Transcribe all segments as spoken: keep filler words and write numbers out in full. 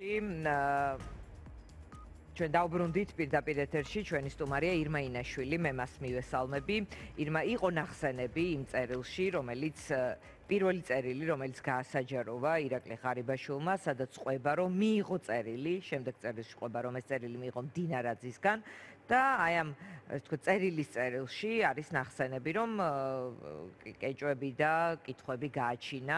ჩვენ დავბრუნდით პირდაპირ ეთერში ჩვენი სტუმარია ირმა ინაშვილი, მე მას მივესალმები. ირმა იყო ნახსენები იმ წერილში, რომელიც პირველი წერილი, რომელიც გაასაჯაროვა ირაკლი ღარიბაშვილმა, სადაც ყვება, რომ მიიღო წერილი, შემდეგ წერილში ყვება, რომ ეს წერილი მიიღო მდინარაძისგან და აი ამ ეს თქო წერილის წერილში არის ნახსენები, რომ კეჭვები და კითხვები გააჩინა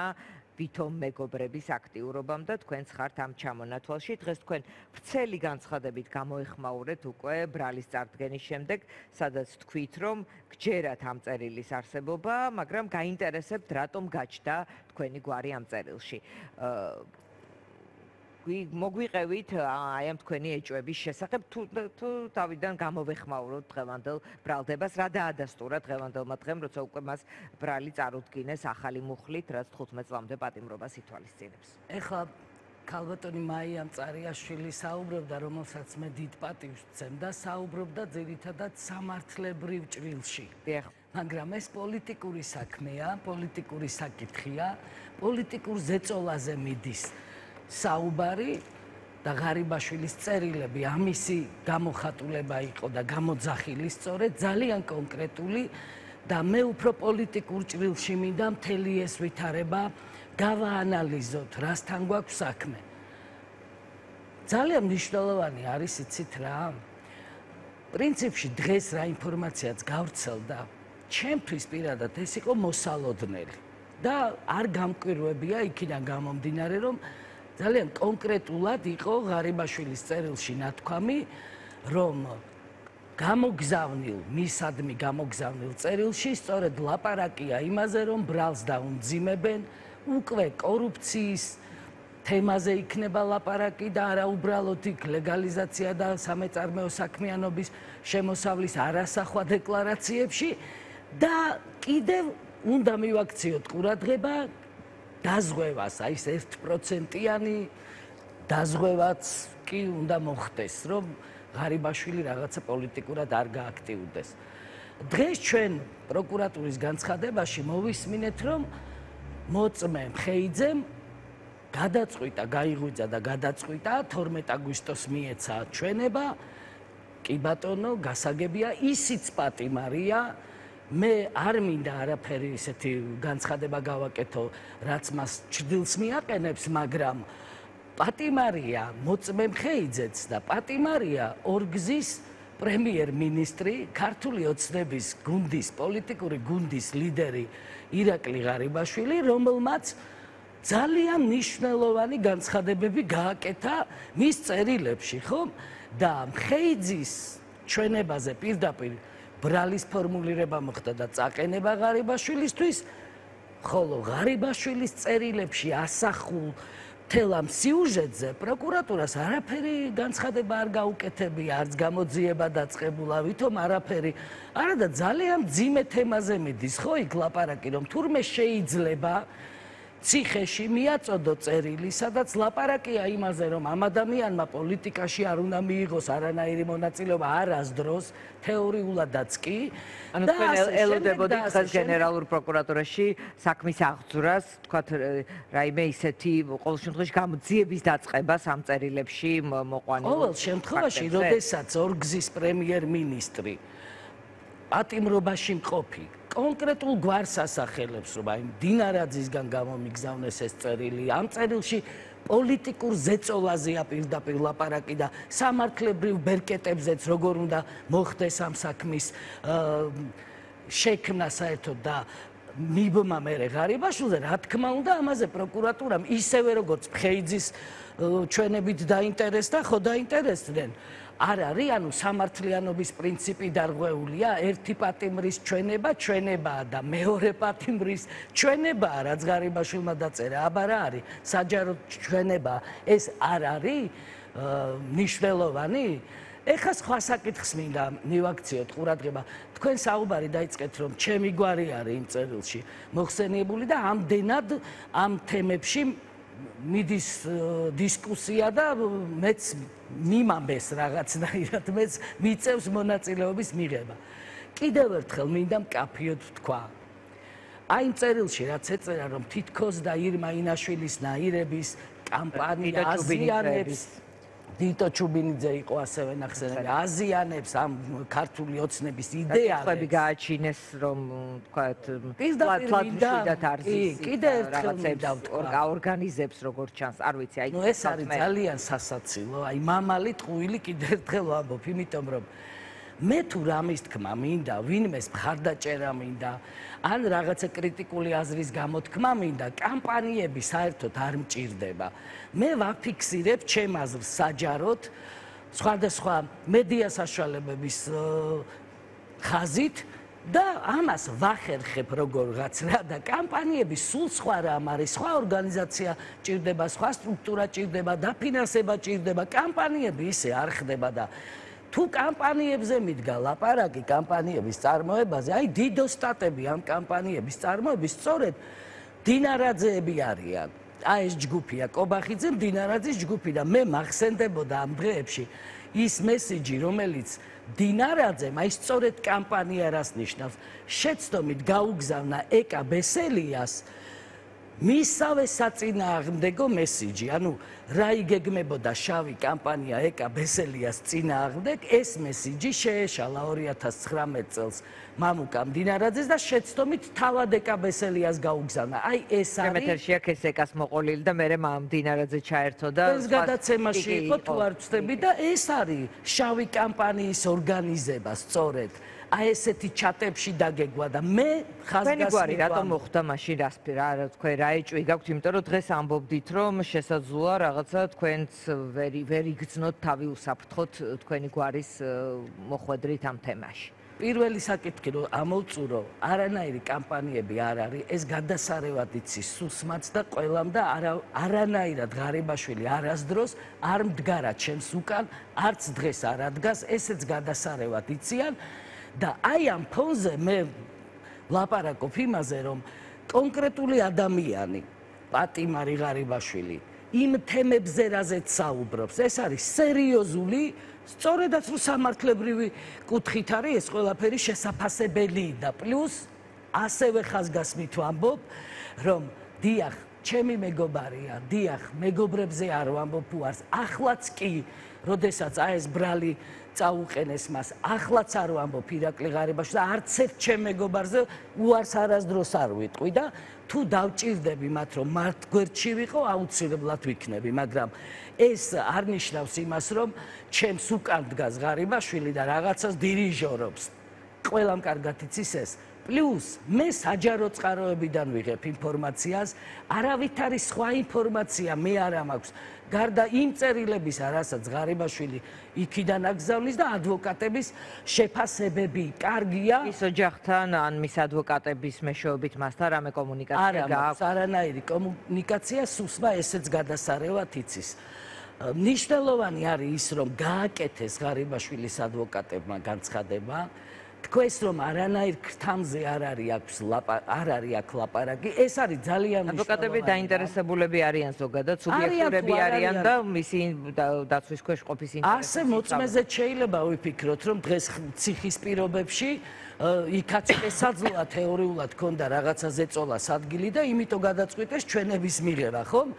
ვითომ მეგობრების აქტიურობამ და თქვენც ხართ ამ ჩამონათვალში. დღეს თქვენ ვრცელი განცხადებით გამოეხმაურეთ უკვე ბრალის წარდგენის შემდეგ, სადაც თქვით, რომ გჯერათ ამ წერილის არსებობა, მაგრამ გაინტერესებთ, რატომ გაჩნდა თქვენი გვარი ამ წერილში. მოგვიყევით აი ამ თქვენი ეჭვების შესახებ, თუ თავიდან გამოვეხმაუროთ დღევანდელ ბრალდებას, რა დაადასტურა დღევანდელმა დღემ, როცა უკვე მას ბრალი წარუდგინეს ახალი მუხლით, რაც თხუთმეტ წლამდე პატიმრობას ითვალისწინებს. ეხლა ქალბატონი მაია მწარიაშვილი საუბრობდა, რომელსაც მე დიდ პატივს ვცემ და საუბრობდა ძირითადად სამართლებრივ ჭრილში. მაგრამ ეს პოლიტიკური საქმეა, პოლიტიკური საკითხია, პოლიტიკურ ზეწოლაზე მიდის საუბარი და ღარიბაშვილის წერილები ამისი გამოხატულება იყო და გამოძახილი სწორედ ძალიან კონკრეტული და მე უფრო პოლიტიკურ ჭრილში მინდა მთელი ეს ვითარება გავაანალიზოთ, რასთან გვაქვს საქმე. ძალიან მნიშვნელოვანი არის, იცით რა? პრინციპში დღეს რა ინფორმაციაც გავრცელდა, ჩემთვის პირადად ეს იყო მოსალოდნელი და არ გამკვირვებია იქიდან გამომდინარე, რომ ძალიან კონკრეტულად იყო ღარიბაშვილის წერილში ნათქვამი, რომ გამოგზავნილ, მისადმი გამოგზავნილ წერილში სწორედ ლაპარაკია იმაზე, რომ ბრალს დაუმძიმებენ, უკვე კორუფციის თემაზე იქნება ლაპარაკი და არა უბრალოდ იქ ლეგალიზაცია და სამეწარმეო საქმიანობის შემოსავლის არასახვა დეკლარაციებში და კიდევ უნდა მივაქციოთ ყურადღება დაზღვევას, აი ეს ერთპროცენტიანი დაზღვევაც კი უნდა მოხდეს, რომ ღარიბაშვილი რაღაცა პოლიტიკურად არ გააქტიურდეს. დღეს ჩვენ პროკურატურის განცხადებაში მოვისმინეთ, რომ მოწმე მხეიძემ გადაწყვიტა, გაიღვიძა და გადაწყვიტა თორმეტ აგვისტოს მიეცა ჩვენება, კი ბატონო, გასაგებია, ისიც პატიმარია, მე არ მინდა არაფერი ისეთი განცხადება გავაკეთო, რაც მას ჩრდილს მიაყენებს, მაგრამ პატიმარია მოწმე მხეიძეც და პატიმარია ორგზის პრემიერ-მინისტრი, ქართული ოცნების გუნდის, პოლიტიკური გუნდის ლიდერი ირაკლი ღარიბაშვილი, რომელმაც ძალიან მნიშვნელოვანი განცხადებები გააკეთა მის წერილებში, ხომ? და მხეიძის ჩვენებაზე პირდაპირ ბრალის ფორმულირება მოხდა და წაყენება ღარიბაშვილისთვის, ხოლო ღარიბაშვილის წერილებში ასახულ მთელ ამ სიუჟეტზე პროკურატურას არაფერი განცხადება არ გაუკეთებია, არც გამოძიება დაწყებულა, ვითომ არაფერი. არა და ძალიან მძიმე თემაზე მიდის, ხო იქ ლაპარაკი, რომ თურმე შეიძლება ციხეში მიაწოდო წერილი, სადაც ლაპარაკია იმაზე, რომ ამ ადამიანმა პოლიტიკაში არ უნდა მიიღოს არანაირი მონაწილეობა არასდროს, თეორიულადაც კი. ანუ თქვენ ელოდებოდით დღეს გენერალურ პროკურატურაში საქმის აღძვრას, თქვათ რაიმე ისეთი ყოველ შემთხვევაში გამოძიების დაწყებას ამ წერილებში მოყვანილ. ყოველ შემთხვევაში, როდესაც ორგზის პრემიერ-მინისტრი პატიმრობაში მყოფი კონკრეტულ გვარს ასახელებს, რომ აი მდინარაძისგან გამომიგზავნეს ეს წერილი, ამ წერილში პოლიტიკურ ზეწოლაზეა პირდაპირ ლაპარაკი და სამართლებრივ ბერკეტებზეც როგორ უნდა მოხდეს ამ საქმის შექმნა საერთოდ და მიბმა მერე ღარიბაშვილზე, რა თქმა უნდა, ამაზე პროკურატურამ ისევე როგორც მხეიძის ჩვენებით დაინტერესდა, ხო დაინტერესდნენ. არ არის, ანუ სამართლიანობის პრინციპი დარღვეულია, ერთი პატიმრის ჩვენება ჩვენებაა და მეორე პატიმრის ჩვენებაა, რაც ღარიბაშვილმა დაწერა, აბა რა არის, საჯარო ჩვენება, ეს არ არის მნიშვნელოვანი? ეხლა სხვა საკითხს მინდა მივაქციოთ ყურადღება. თქვენ საუბარი დაიწყეთ, რომ ჩემი გვარი არის იმ წერილში მოხსენიებული და ამდენად ამ თემებში მიდის დისკუსია და მეც მიმამბეს რაღაცნაირად, მეც მიწევს მონაწილეობის მიღება. კიდევ ერთხელ მინდა მკაფიოდ ვთქვა. აი იმ წერილში რაც ეწერა რომ თითქოს და ირმა ინაშვილის ნაირების კამპანია აზიანებს დიტო ჩუბინიძე იყო ასევე ნახსენები აზიანებს ამ ქართული ოცნების იდეას ხები გააჩინეს რომ თქვათ თლათმშიდად არის კიდე ერთხელ ორგანიზებს როგორც ჩანს არ ვიცი აი ნუ ეს არის ძალიან სასაცილო აი მამალი ტყუილი კიდე ერთხელ ვამბობ იმიტომ რომ მე თუ რამის თქმა მინდა ვინმეს მხარდაჭერა მინდა ან რაღაცა კრიტიკული აზრის გამოთქმა მინდა კამპანიები საერთოდ არ მჭირდება მე ვაფიქსირებ ჩემ აზრს საჯაროდ სხვადასხვა მედია საშუალებების ხაზით და ამას ვახერხებ როგორღაც რა და კამპანიები სულ სხვა რამ არის სხვა ორგანიზაცია ჭირდება სხვა სტრუქტურა ჭირდება დაფინანსება ჭირდება კამპანიები ისე არ ხდება და თუ კამპანიებზე მიდგა ლაპარაკი კამპანიების წარმოებაზე, აი დიდო სტატები ამ კამპანიების წარმოების სწორედ დინარაძეები არიან. აი ეს ჯგუფია, კობახიძე, დინარაძის ჯგუფი და მე მახსენდებოდა ამ დღეებში ის მესიჯი, რომელიც დინარაძემ აი სწორედ კამპანია რას ნიშნავს, შეცდომით გაუგზავნა ეკა ბესელიას მისავე საწინააღმდეგო მესიჯი, ანუ რა იგეგმებოდა შავი კამპანია ეკა ბესელიას წინააღმდეგ, ეს მესიჯი შეეშალა ორი ათას ცხრამეტ წელს მამუკამ დინარაძეს და შეცდომით თავად ეკა ბესელიას გაუგზავნა. აი ეს არის შემეთერში აქ ეს ეკას მოყოლილი და მე მამ დინარაძე ჩაერთო და ეს გადაცემაში იყო თუ არ ვწდები და ეს არის შავი კამპანიის ორგანიზება სწორედ. აი ესეთი ჩატებში დაგეგვა და მე ხაზგასმით რატომ მოხდა მაშინ რას რა თქვენ რა ეჭვი გაქვთ იმიტომ რომ დღეს ამბობდით რომ შესაძლოა რაღაცა თქვენც ვერ ვერ იგრძნოთ თავი უსაფრთხოთ თქვენი გვარის მოხვედრით ამ თემაში პირველი საკითხი რომ ამოვწურო არანაირი კამპანიები არ არის ეს გადასარევად იცის სუსმაც და ყველამ და არანაირად ღარიბაშვილი არასდროს არ მდგარა ჩემს უკან არც დღეს არ ადგას ესეც გადასარევად იციან და აი ამ ფონზე მე ვლაპარაკობ იმაზე რომ კონკრეტული ადამიანი პატიმარი ღარიბაშვილი იმ თემებზე რაზეც საუბრობს ეს არის სერიოზული სწორედაც რომ სამართლებრივი კუთხით არის ეს ყველაფერი შესაძლებელი და პლუს ასევე ხაზგასმით ვამბობ რომ დიახ ჩემი მეგობარია დიახ მეგობრებზე არ ვამბობ უარს ახლაც კი როდესაც აი ეს ბრალი წაუყენეს მას ახლაც არ ვამბობ ირაკლი ღარიბაშვილს და არც ერთ ჩემ მეგობარზე უარს არასდროს არ ვიტყვი და თუ დავჭირდები მათ რომ მართ გვერდში ვიყო აუცილებლად ვიქნები მაგრამ ეს არ ნიშნავს იმას რომ ჩემს უკან დგას ღარიბაშვილი და რაღაცას დირიჟორობს ყველამ კარგად იცის ეს პლუს მე საჯარო წყაროებიდან ვიღებ ინფორმაციას არავით არის სხვა ინფორმაცია მე არ მაქვს გარდა იმ წერილებისა რასაც ღარიბაშვილი იქიდან აგზავნის და ადვოკატების შეფასებები კარგია ის ოჯახთან ან მის ადვოკატების მეშვეობით მასთან რამე კომუნიკაცია გააქვს არანაირი კომუნიკაცია სუსმა ესეც გადასარევად იცის მნიშვნელოვანი არის ის რომ გააკეთეს ღარიბაშვილის ადვოკატებმა განცხადება თქვენს რომ არანაირ ქრთამზე არ არის აქვს არ არის აქ ლაპარაკი ეს არის ძალიან მნიშვნელოვანი ადვოკატები დაინტერესებულები არიან ზოგადად სუბიექტურები არიან და მისი დაცვის ქვეშ ყოფის ინტერესები ასე მოწმეზე შეიძლება ვიფიქროთ რომ დღეს ციხის პირობებში იქაც შესაძლოა თეორიულად ქონდა რაღაცა ზეწოლას ადგილი და იმიტომ გადაწყვიტეს ჩვენების მიღება ხომ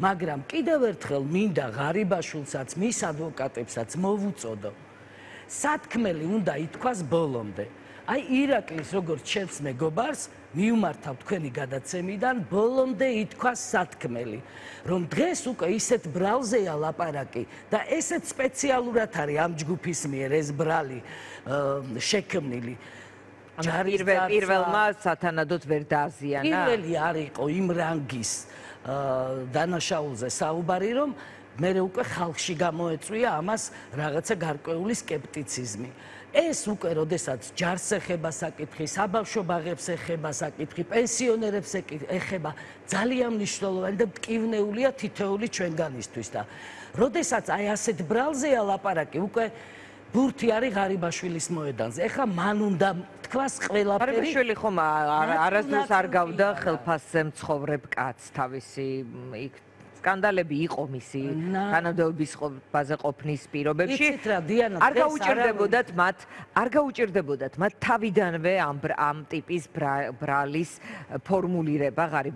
მაგრამ კიდევ ერთხელ მინდა ღარიბაშვილსაც მის ადვოკატებსაც მოვუწოდო სათქმელი უნდა ითქვას ბოლომდე. აი ირაკლის როგორც ჩემს მეგობარს მიუმართავ თქვენი გადაცემიდან ბოლომდე ითქვას სათქმელი, რომ დღეს უკვე ისეთ ბრალზეა ლაპარაკი და ესეც სპეციალურად არის ამ ჯგუფის მიერ ეს ბრალი შექმნილი. პირველმა სათანადოდ ვერ დააზიანა. პირველი არ იყო იმ რანგის დანაშაულზე საუბარი, რომ მე უკვე ხალხში გამოეწვია ამას რაღაცა გარკვეული სკეპტიციზმი. ეს უკვე როდესაც ჯარს ეხება საკითხი, საბავშვო ბაღებს ეხება საკითხი, პენსიონერებს ეხება, ძალიან მნიშვნელოვანი და მტკივნეულია თითოეული ჩვენგანისთვის და როდესაც აი ასეთ ბრალზეა ლაპარაკი, უკვე ბურთი არის ღარიბაშვილის მოედანზე. ეხლა მან უნდა თქვას ყველაფერი. ღარიბაშვილი ხომ არასდროს არ გავდა ხელფასზე მცხოვრებ კაცს თავისი იქ სკანდალები იყო მისი თანამდებობის ბაზე ყოფნის პირობებში. იცით რა, დიანა, არ გაუჭირდებოდათ მათ, არ გაუჭირდებოდათ მათ თავიდანვე ამ ამ ტიპის ბრალის ფორმულირება ღარიბ